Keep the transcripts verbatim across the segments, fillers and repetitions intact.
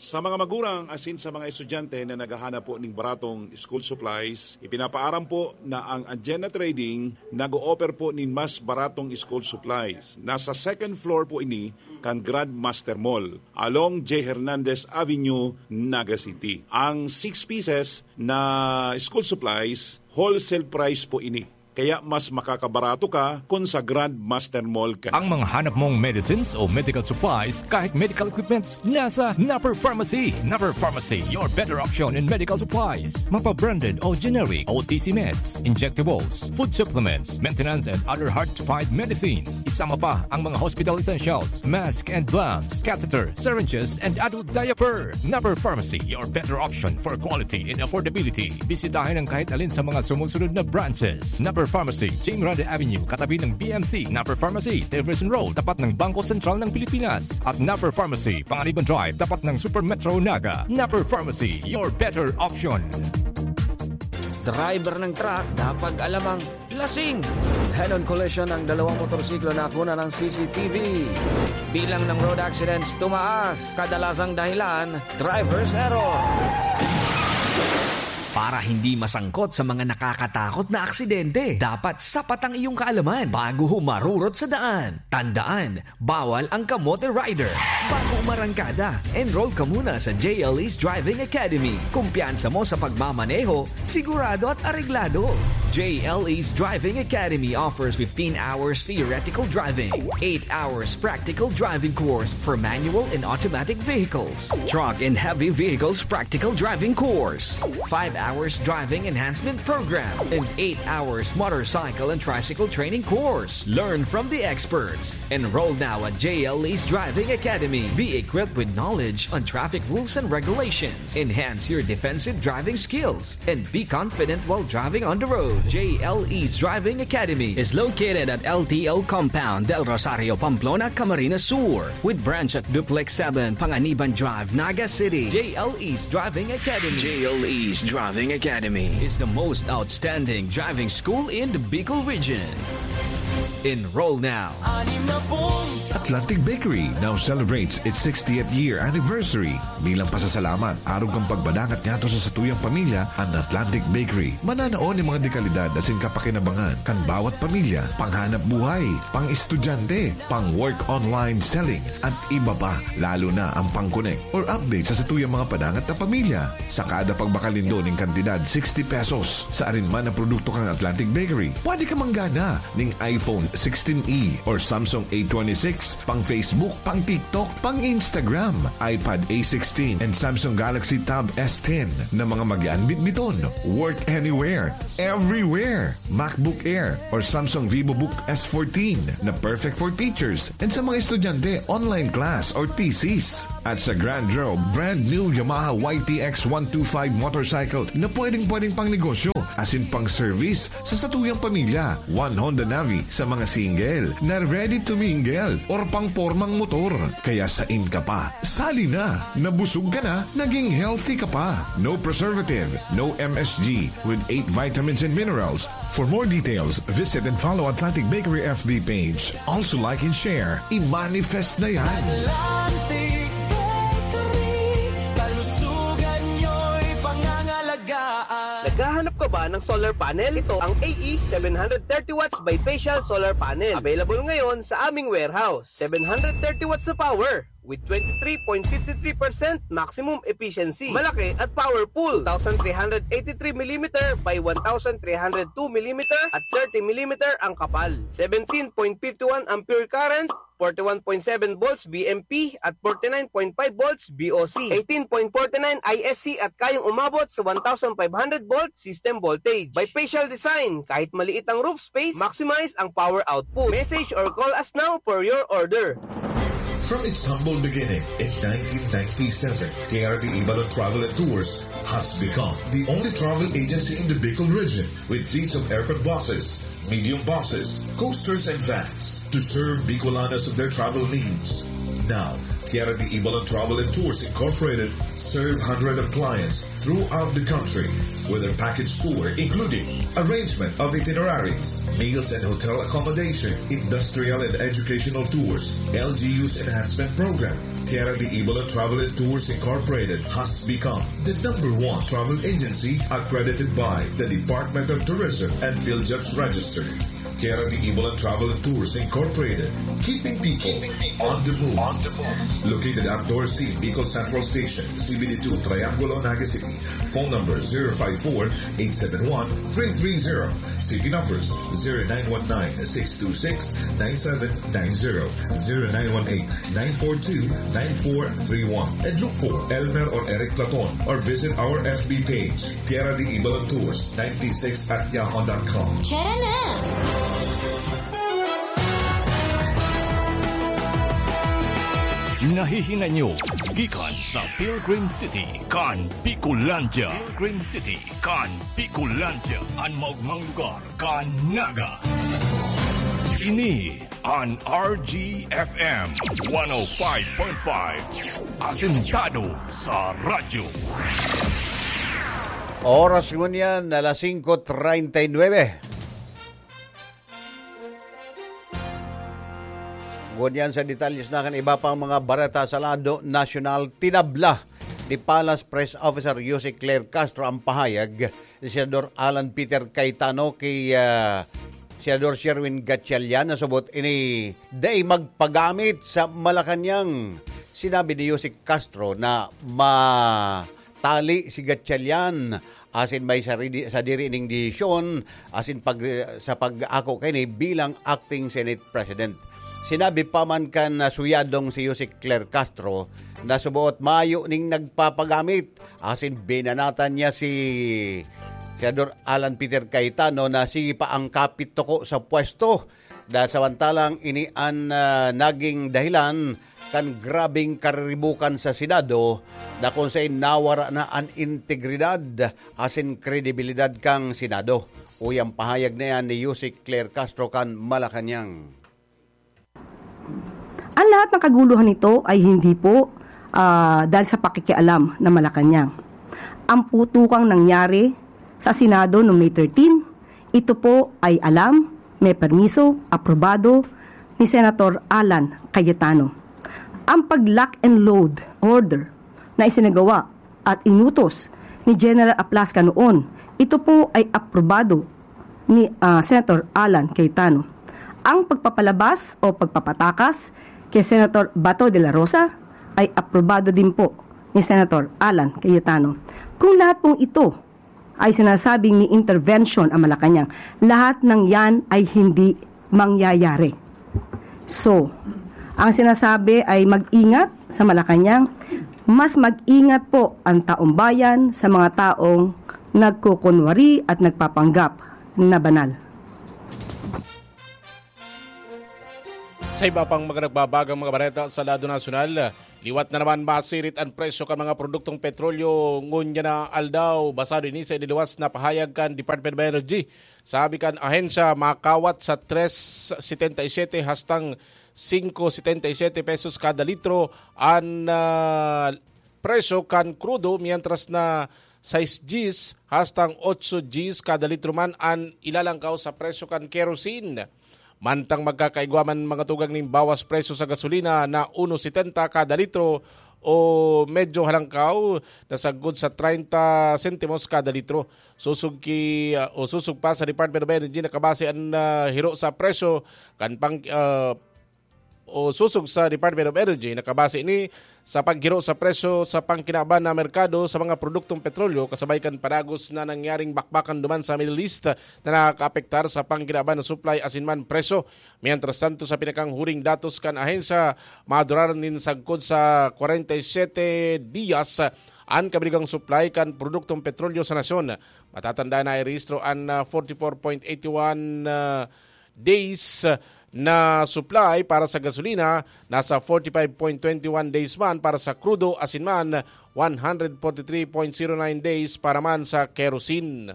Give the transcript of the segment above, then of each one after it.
Sa mga magurang asin sa mga estudyante na naghahanap po ning baratong school supplies, ipinapaaram po na ang Agenda Trading nag-o-offer po nin mas baratong school supplies. Nasa second floor po ini kan Grandmaster Mall, along J Hernandez Avenue, Naga City. Ang six pieces na school supplies, wholesale price po ini. Kaya mas makakabarato ka kun sa Grandmaster Mall ka. Ang mga hanap mong medicines o medical supplies, kahit medical equipments, nasa Napper Pharmacy. Napper Pharmacy, your better option in medical supplies. Mapa-branded o generic, O T C meds, injectables, food supplements, maintenance and other hard-to-find medicines. Isama pa ang mga hospital essentials, mask and gloves, catheter, syringes, and adult diaper. Napper Pharmacy, your better option for quality and affordability. Bisitahin ang kahit alin sa mga sumusunod na branches. Napper Pharmacy, Jane Miranda Avenue, katabi ng B M C. Napper Pharmacy, Jefferson Road, tapat ng Bangko Sentral ng Pilipinas. At Napper Pharmacy, Panganiban Drive, tapat ng Super Metro Naga. Napper Pharmacy, your better option. Driver ng truck, dapat alam ang lasing. Head-on collision ng dalawang motorsiklo na nakuna ng C C T V. Bilang ng road accidents tumaas. Kadalasang dahilan, driver's error. Para hindi masangkot sa mga nakakatakot na aksidente, dapat sapat ang iyong kaalaman bago humarurot sa daan. Tandaan, bawal ang kamote rider. Bago umarangkada, enroll ka muna sa J L E's Driving Academy. Kumpiyansa mo sa pagmamaneho, sigurado at areglado. J L E's Driving Academy offers fifteen hours theoretical driving, eight hours practical driving course for manual and automatic vehicles, truck and heavy vehicles practical driving course, five hours driving enhancement program, and eight hours motorcycle and tricycle training course. Learn from the experts. Enroll now at J L E's Driving Academy. Be equipped with knowledge on traffic rules and regulations. Enhance your defensive driving skills and be confident while driving on the road. J L E's Driving Academy is located at L T O Compound, Del Rosario, Pamplona, Camarines Sur, with branch at Duplex seven, Panganiban Drive, Naga City. J L E's Driving Academy. J L E's Driving Academy is the most outstanding driving school in the Bicol region. Enroll now. Atlantic Bakery now celebrates its sixtieth year anniversary. Bilang pasasalamat, arog kan pagbadangat ngadto sa satuyang pamilya, an Atlantic Bakery mananao nin mga dekalidad asin kapakinabangan kan bawat pamilya, panghanap buhay, pang-estudyante, pang-work online selling, at iba pa, lalo na ang pang-connect or update sa satuyang mga padangat na pamilya. Sa kada pagbakal nindo nin kantidad sixty pesos sa arin man na produkto kan Atlantic Bakery, pwede ka manggana ning iPhone sixteen E or Samsung A twenty-six, pang Facebook, pang TikTok, pang Instagram, iPad A sixteen, and Samsung Galaxy Tab S ten na mga magaan bitbiton. Work anywhere, everywhere. MacBook Air or Samsung VivoBook S fourteen na perfect for teachers and sa mga estudyante, online class or thesis. At sa Grand Draw, brand new Yamaha Y T X one two five motorcycle na pwedeng-pwedeng pang negosyo asin pang service sa satuyang pamilya. One Honda Navi sa mga single na ready to mingle or pang pormang motor. Kaya sain ka pa? Sali na! Nabusog ka na, naging healthy ka pa. No preservative, no M S G, with eight vitamins and minerals. For more details, visit and follow Atlantic Bakery F B page. Also like and share. I-manifest na yan! Atlantic Bakery, kalusugan nyo'y pangangalagaan. Naghahanap ka ba ng solar panel? Ito ang A E seven hundred thirty watts bifacial solar panel. Available ngayon sa aming warehouse. Seven hundred thirty watts na power with twenty-three point five three percent maximum efficiency. Malaki at powerful. Two thousand three hundred eighty-three millimeter by one thousand three hundred two millimeter at thirty millimeter ang kapal. Seventeen point five one ampere current, forty-one point seven volts V M P at forty-nine point five volts V O C, eighteen point forty-nine I S C at kayang umabot sa one thousand five hundred volt system voltage. Bifacial design, kahit maliit ang roof space, maximize ang power output. Message or call us now for your order. From its humble beginning in nineteen ninety-seven, K R D Ibalon Travel and Tours has become the only travel agency in the Bicol region with fleets of aircon buses, medium buses, coasters, and vans to serve Bicolanos of their travel needs. Now, Tierra de Ibalan Travel and Tours Incorporated serve hundreds of clients throughout the country with their package tour, including arrangement of itineraries, meals and hotel accommodation, industrial and educational tours, L G U's enhancement program. Tierra de Ibalan Travel and Tours Incorporated has become the number one travel agency accredited by the Department of Tourism and PhilJobs Register. Tierra de Ibalan Travel and Tours Incorporated, keeping people on the move. Located at Dorsey, Bicol Central Station, C B D two, Triangulo, Naga City. Phone number zero five four, eight seven one, three three zero. C P numbers zero nine one nine, six two six, nine seven nine zero, zero nine one eight, nine four two, nine four three one. And look for Elmer or Eric Platon or visit our F B page, Tierra de Ibalan Tours ninety-six at yahoo dot com. Tara na! Nahihinay nyo gikan sa Pilgrim City kan Bicolandia. Pilgrim City kan Bicolandia, an maogmang lugar kan Naga. Ini an R G F M one oh five point five, asentado sa radyo. Oras ngunyan, alas singko treinta y nueve. Ngunyan sa detalles na kan iba pang mga bareta sa lado nasyonal, tinabla ni Palace Press Officer Yusek Claire Castro ang pahayag ni Senador Alan Peter Cayetano kay, ah, Senador Sherwin Gatchalian na subot ini dai magpagamit sa Malacañang. Sinabi ni Yusek Castro na matali si Gatchalian asin may sarili, sadiri ning desisyon asin pag, sa pag-ako kaini bilang acting Senate President. Sinabi pa man kan, ah, suyadong si Yusek Claire Castro na suboot mayo ning nagpapagamit asin binanatan niya si Senador Alan Peter Cayetano na sige pa ang kapit tuko sa pwesto. Dahil samantalang ini an, ah, naging dahilan kan grabeng kariribukan sa Senado na kung sain nawara na an integridad asin kredibilidad kan Senado. Uya an pahayag na yan ni Yusek Claire Castro kan Malacañang. Ang lahat ng kaguluhan nito ay hindi po, ah, dahil sa pakikialam ng Malacañang. Ang putukang nangyari sa Senado noong May thirteen, ito po ay alam, may permiso, aprobado ni Senator Alan Cayetano. Ang pag-lock and load order na isinagawa at inutos ni General Aplasca noon, ito po ay aprobado ni, ah, Senator Alan Cayetano. Ang pagpapalabas o pagpapatakas kay Senator Bato de la Rosa ay aprobado din po ni Senator Alan Cayetano. Kung lahat pong ito ay sinasabing may intervention ang Malacañang, lahat ng yan ay hindi mangyayari. So, ang sinasabi ay mag-ingat sa Malacañang, mas mag-ingat po ang taong bayan sa mga taong nagkukunwari at nagpapanggap na banal. Sa iba pang mga nagbabagang mga bareta sa lado nasyonal, liwat na naman masirit an presyo kan mga produktong petrolyo ngunyan na aldaw. Basado ini sa iniluwas na pahayag kan Department of Energy. Sabi kan ahensya, makawat sa tres setenta y siete hastang singko setenta y siete pesos kada litro an, ah, presyo kan krudo, mientras na sais dyes hastang otso dyes kada litro man an ilalangkaw sa presyo kan kerosene. Mantang magkakaigwa man mga tugang ning bawas presyo sa gasolina na uno setenta kada litro o medyo halangkaw na sagkod sa treinta sentimos kada litro. Susog ki, ah, o susog pa sa Department of Energy, nakabase an, ah, hiro sa presyo kan pang, ah, o susog sa Department of Energy, nakabase ini sa paghiro sa presyo sa pangkinaban na merkado sa mga produktong petrolyo kasabay kan padagos na nangyaring bakbakan duman sa Middle East na nakakaapektar sa pangkinaban na supply asin man presyo. Mientras tanto, sa pinakanghuring datos kan ahensya, maduraran nin sagkod sa kwarenta y siyete diyas an kabilugang supply kan produktong petrolyo sa nasyon. Matatandaan na irehistro an, ah, forty-four point eighty-one, ah, days na supply para sa gasolina, nasa forty-five point twenty-one days man para sa krudo asin man one hundred forty-three point zero nine days para man sa kerosene.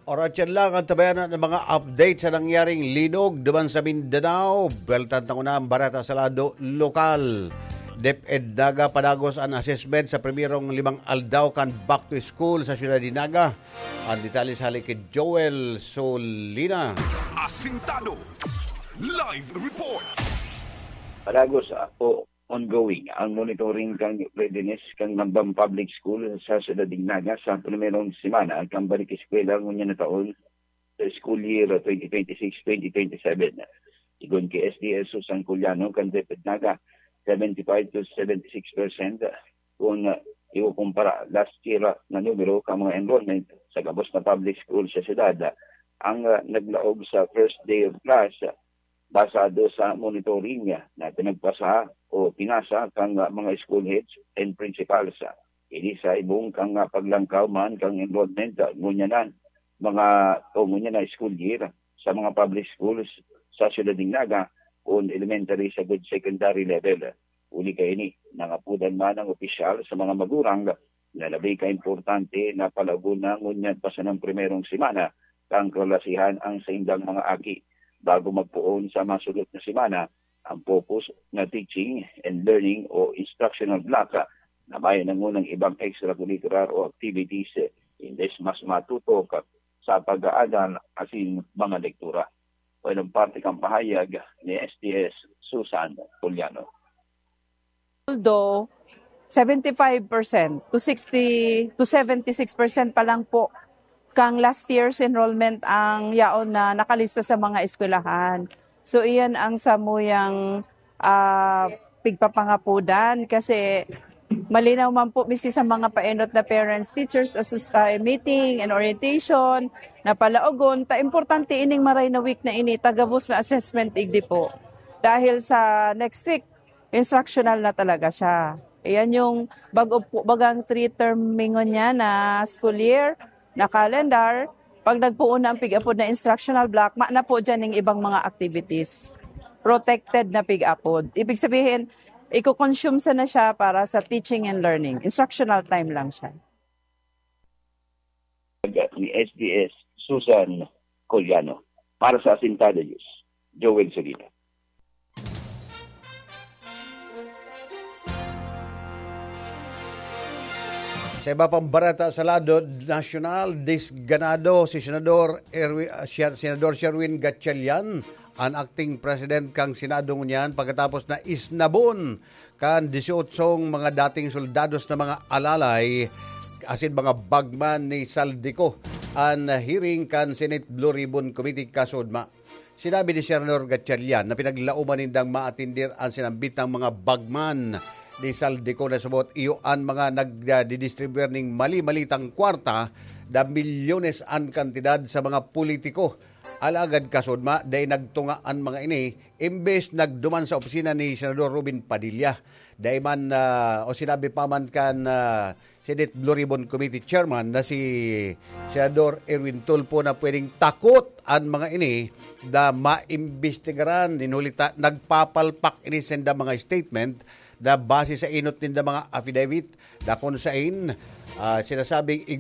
Oras yan lang ang tabayanan ng mga update sa nangyaring linog duman sa Mindanao. Beltan tango na ang bareta sa lado lokal. DepEd Naga padagos an assessment sa primerong limang aldaw kan back to school sa siyudad ni Naga. Ang detalye sa hali ki Joel Solina. Asintado. Live report. Padagos, ah, o ongoing ang monitoring kan readiness kan Nambang Public School sa siyudad nin Naga sa primerong semana kan balik eskwela ngunyan na taon sa school year twenty twenty-six twenty twenty-seven. Sigon ki S D S Susan Culiano kan DepEd Naga, seventy-five to seventy-six percent kun, ah, ikukumpara last year, ah, na numero kan mga enrollment sa gabos na public school sa siyudad, ah, ang, ah, naglaog sa first day of class, ah, basado sa monitoring, ah, na pinagpasa o pinasa kan, ah, mga school heads and principals. Ah, ini sa ibong kan, ah, paglangkaw man kan enrollment, ah, ngunyan na mga o ngunyan na school year sa mga public schools sa siyudad nin Naga, kun elementary sagud secondary level. Huli kaini, nangapodan man ang opisyal sa mga magurang na labi ka importante na palagon na ngunyan pa sanang primerong semana kan kalasihan ang saindang mga aki bago magpoon sa masunod na semana ang focus na teaching and learning o instructional block na may nangunang ibang extracurricular o activities, imbes mas matutok sa pag-aaral asin mga lektura. Walang parte kang pahayag ni S T S Susan Puliano. Although seventy-five percent to sixty to seventy-six percent pa lang po kang last year's enrollment ang yaon na nakalista sa mga eskwelahan. So iyan ang samuyang ah, pigpapangapodan kasi malinaw man po misi sa mga paenot na parents teachers asos- ah, meeting and orientation na palaogon ta importante ining maray na week na ini tagabos na assessment igdi po dahil sa next week instructional na talaga siya. Iyan yung bago po bagang three termingon niya na school year na calendar. Pag nagpoon na ang pig-apod na instructional block, maana po dyan ng ibang mga activities. Protected na pig-apod. Ibig sabihin, i-consume sa na siya para sa teaching and learning. Instructional time lang siya. Ni S D S Susan Coliano. Para sa Asintado News, Joel Solita. Sa iba pang bareta sa lado nasyonal, disganado si Senador Erwi- ah, Sher- Senador Sherwin Gatchalian, an acting president kan Senado ngunyan, pagkatapos na isnabon kan disyotsyong mga dating soldados na mga alalay asin mga bagman ni Zaldy Co an hearing kan Senate Blue Ribbon Committee kasudma. Sinabi ni Senador Gatchalian na pinaglauman nindang maatindir an sinambit na mga bagman ni Zaldy Co na subot iyo an mga nagdidistribuir ning mali-malitang kwarta na milyones an kantidad sa mga politiko. Alagad kasudma, dai nagtunga an mga ini, imbes nagduman sa opisina ni Senador Robin Padilla. Dai man, ah, o sinabi pa man kan, ah, Senate Blue Ribbon Committee Chairman na si Senador Erwin Tulfo na pwedeng takot an mga ini na maimbestigaran. Nin huli ta, nagpapalpak ini sa inda mga statement na base sa enot ninda mga affidavit na kun sain, ah, sinasabing